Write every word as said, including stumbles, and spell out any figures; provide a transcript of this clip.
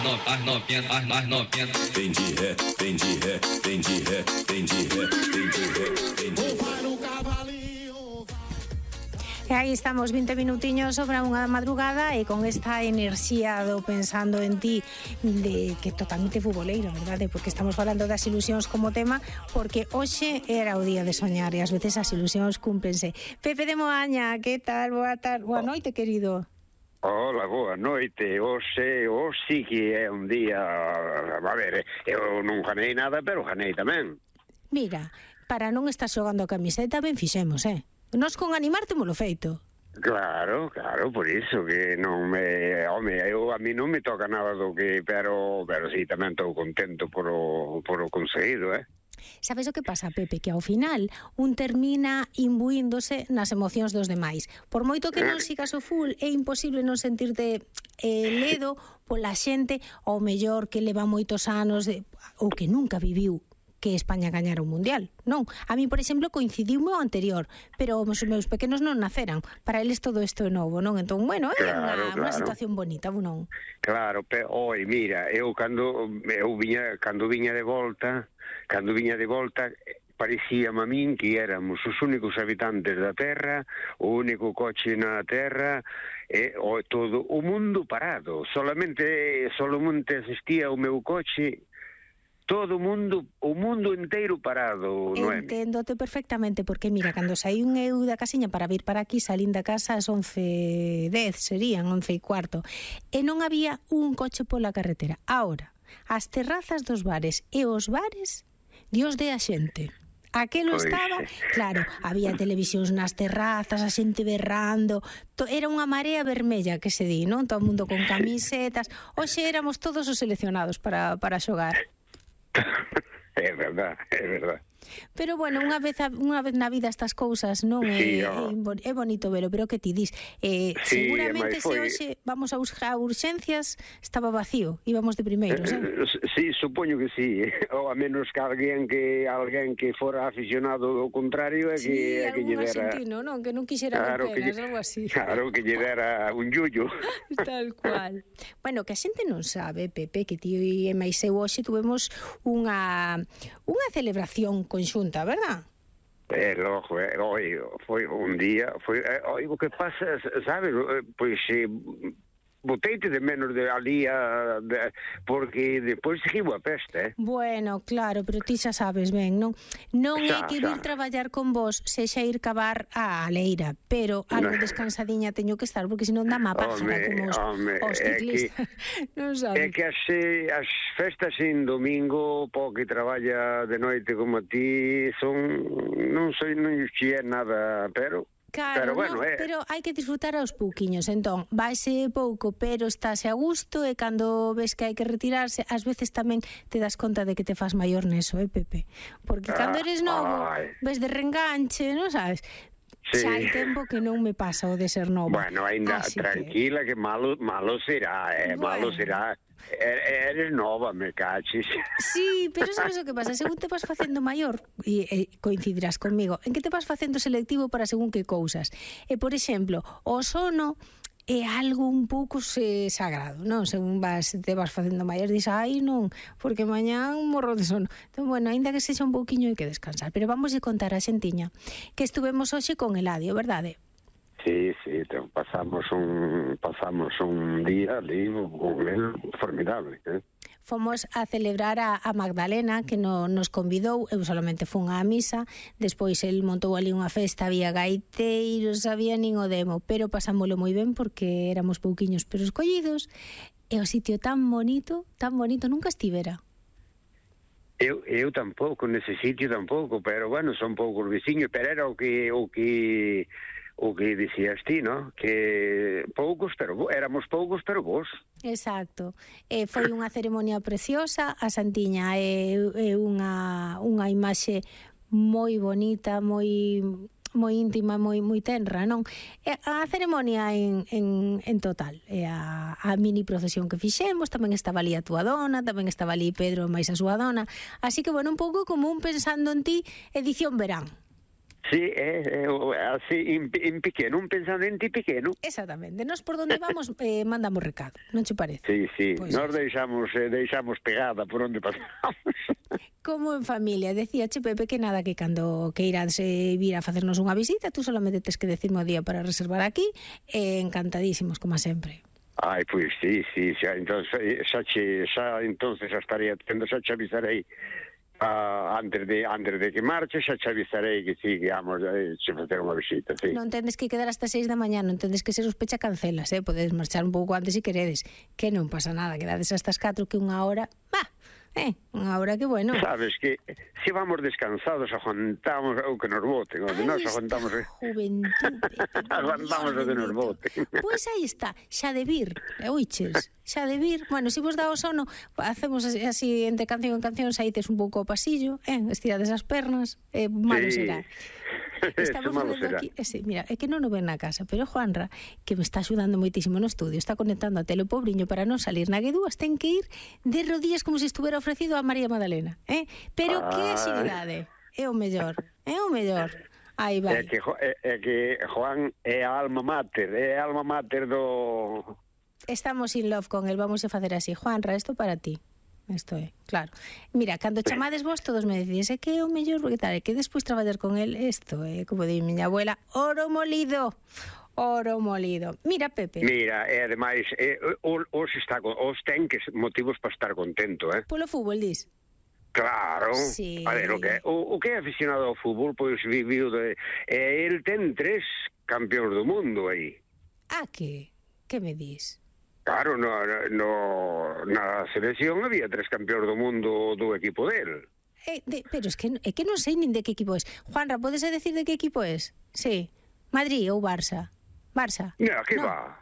no, as novinhas, as, as novinhas. Vem de ré, vem de ré, vem de ré, vem de ré, vem de ré, vem de ré. E aí estamos vinte minutiños sobre unha madrugada e con esta enerxía do pensando en ti de que totalmente futboleiro, verdade? Porque estamos falando das ilusións como tema, porque hoxe era o día de soñar e ás veces as ilusións cúmplense. Pepe de Moaña, que tal? Boa tarde, boa noite, querido. Hola, boa noite. Hoxe, hoxe que é un día... A ver, eu non ganei nada, pero ganei tamén. Mira, para non estar xogando a camiseta, ben fixemos, eh? Nos con animarte molo feito. Claro, claro, por iso que non me... Home, eu, a mí non me toca nada do que... Pero, pero sí, tamén estou contento por o, por o conseguido, eh? Sabes o que pasa, Pepe? Que ao final un termina imbuíndose nas emocións dos demais. Por moito que non sigas o full, é imposible non sentirte eh, ledo pola xente ao mellor que leva moitos anos de, ou que nunca viviu que España gañara un mundial, non? A mí, por exemplo, coincidiu o anterior, pero os meus pequenos non naceran. Para eles todo isto é novo, non? Entón, bueno, é claro, unha, claro. unha situación bonita, non? Claro, pero, oi, mira, eu cando eu viña, cando viña de volta, cando viña de volta, parecíame a min que éramos os únicos habitantes da Terra, o único coche na Terra, e o, todo o mundo parado. Solamente, solamente existía o meu coche. Todo o mundo, o mundo inteiro parado, Noemi. Enténdote perfectamente, porque mira, cando saín eu da casiña para vir para aquí, salín da casa ás once e dez, serían once e cuarto, e non había un coche pola carretera. Ahora, as terrazas dos bares e os bares, Dios de a xente. Aquelo Pois, estaba, claro, había televisións nas terrazas, a xente berrando, to, era unha marea vermella que se di, non? Todo o mundo con camisetas. Hoxe éramos todos os seleccionados para, para xogar. É verdad, é verdad. Pero bueno, unha vez a, unha vez na vida estas cousas non é, Sí, oh. é, é bonito velo, pero que ti dis, eh, Sí, seguramente se foi... hoxe vamos a buscar urxencias estaba vacío, íbamos de primeiros, eh? Eh, sí, supoño que sí, ou a menos que alguén que alguén que fora aficionado do contrario é sí, que é que lle algún dera, argentino, non, que non quixera claro, ver que penas, lle, algo así. claro, que lle dera un yullo. Tal cual. Bueno, que a xente non sabe, Pepe, que ti e máis eu hoxe tuvemos unha unha celebración conxunta, verdad? É, logo, é, oi, foi un día, foi, é, oi, o que pasa, sabes, pois, eh, boteite de menos de ali a, de, porque depois seguiu a peste, eh? Bueno, claro, pero ti xa sabes ben, non? Non é Xa, que xa. vir traballar con vos sexa ir cavar a leira, pero algo No. descansadiña teño que estar, porque senón dá má pájara, Home, como os, home, os é ciclistas. Non É sabes? que as, eh, as festas en domingo, po que traballa de noite como a ti, son, non sei, non xe é nada, pero... Claro, pero bueno, no, eh. pero hai que disfrutar aos pouquiños. Entón, vaise pouco, pero estáse a gusto, e cando ves que hai que retirarse, ás veces tamén te das conta de que te fas maior neso, eh, Pepe? Porque cando eres novo, Ai. ves de reenganche, non sabes? Sí. Xa hai tempo que non me pasa o de ser nova. Bueno, ainda Así tranquila que... que malo malo será, eh, Bueno. malo será. E- Eres nova, me caches. Sí, pero sabes o que pasa? Según te vas facendo maior, e, e coincidirás conmigo, en que te vas facendo selectivo para según que cousas. E, por exemplo, o sono é algo un pouco se sagrado, non? Según vas, te vas facendo maior, dis, ai, non, porque mañán morro de sono. Entón, bueno, ainda que sexa un pouquiño hai que descansar. Pero vamos a contar a xentiña que estuvemos hoxe con Eladio, verdade? Sí, sí, te, pasamos un pasamos un día ali con él formidable, eh? Fomos a celebrar a, a Magdalena, que no, nos convidou, eu solamente fun á misa, despois el montou ali unha festa, había gaiteiros, había nin o demo, pero pasámoslo moi ben porque éramos pouquiños pero escollidos, e o sitio tan bonito, tan bonito, nunca estivera. Eu, eu tampouco, nese sitio tampouco, pero bueno, son poucos veciños, pero era o que o que o que dicías ti, ¿no? Que poucos, pero bo, éramos poucos, pero vos. Exacto. Eh, foi unha ceremonia preciosa, a Santiña é, é unha, unha imaxe moi bonita, moi moi íntima, moi moi tenra, non? E a ceremonia en, en, en total, e a, a mini procesión que fixemos, tamén estaba ali a túa dona, tamén estaba ali Pedro máis a súa dona, así que, bueno, un pouco como un pensando en ti, edición verán. Sí, é, é, así, en, en pequeno, un pensamento pequeno. Exactamente. Nos por donde vamos eh, mandamos recado, non che parece? Sí, sí, Pois nos es. deixamos, eh, deixamos pegada por onde pasamos. Como en familia, decía che Pepe que nada, que cando que irás eh, vir a facernos unha visita, tú solamente tes que decirme o día para reservar aquí, eh, encantadísimos, como sempre. Ai, pois sí, sí, xa, entonces, xa, che, xa entonces xa estaría tendo, xa che avisarei uh, antes, de, antes de que marche, xa che avisarei que sí, que vamos a eh, facer unha visita, sí. Non tendes que quedar hasta seis da mañá, non tendes que ser os pecha cancelas, eh? Podedes marchar un pouco antes se queredes, que non pasa nada, quedades hasta as catro que unha hora, bah, eh, unha hora que bueno. Sabes que se vamos descansados aguantamos o que nos boten, onde nós aguantamos eh. Juventude, aguantamos o que nos boten. Pois aí está, xa de vir, oiches, xa de vir. Bueno, se vos dá o sono, facemos así, así entre canción en canción, saítes un pouco ao pasillo, eh, estirades as pernas, eh, malo Sí. será. Estamos malo facendo será. aquí, eh, sí, mira, é que non o ven na casa, pero Juanra, que me está axudando moitísimo no estudio, está conectando a tele o pobriño para non salir na guedúas, ten que ir de rodillas como se estuvera ofrecido a María Magdalena, eh? Pero que Ai. axilidade, é o mellor, é o mellor. Aí É vai. que, Jo- é, é que Juan é a alma mater, é a alma mater do... Estamos in love con el, vamos a facer así. Juanra, isto para ti. Isto é, claro. Mira, cando chamades vos, todos me decides, é que é o mellor, porque tal, é que despois traballar con el, isto é, como di miña abuela, oro molido, oro molido. Mira, Pepe, Mira, e ademais, eh, os, os, está, con- os ten que motivos para estar contento, eh? polo fútbol, dis? Claro. Sí. A ver, o que, o, o que é aficionado ao fútbol, pois viviu de... Eh, el ten tres campeóns do mundo aí. Ah, que? Que me dis? Claro, no, no, na selección había tres campeóns do mundo do equipo del. Eh, de, pero es que, é que non sei nin de que equipo es. Juanra, podes decir de que equipo es? Sí. Madrid ou Barça? Barça? Mira, que No. va?